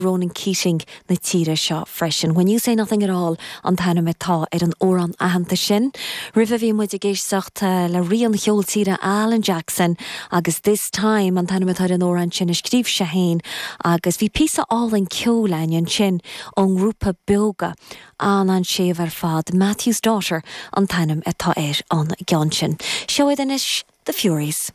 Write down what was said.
Ronan Keating na tíre seo freisin. When You Say Nothing At All an t-ainm atá ar an amhrán aitheanta sin. Roimhe bhí muid ag éisteacht le rí an cheoil tíre Alan Jackson agus This Time an t-ainm atá ar an amhrán sin a scríobh sé féin agus bhí píosa álainn ceoil againn ansin ón ngrúpa Beoga, an-an-séimh ar fad, Matthew's Daughter an t-ainm atá ar an gceann sin. Seo iad anois The Fureys.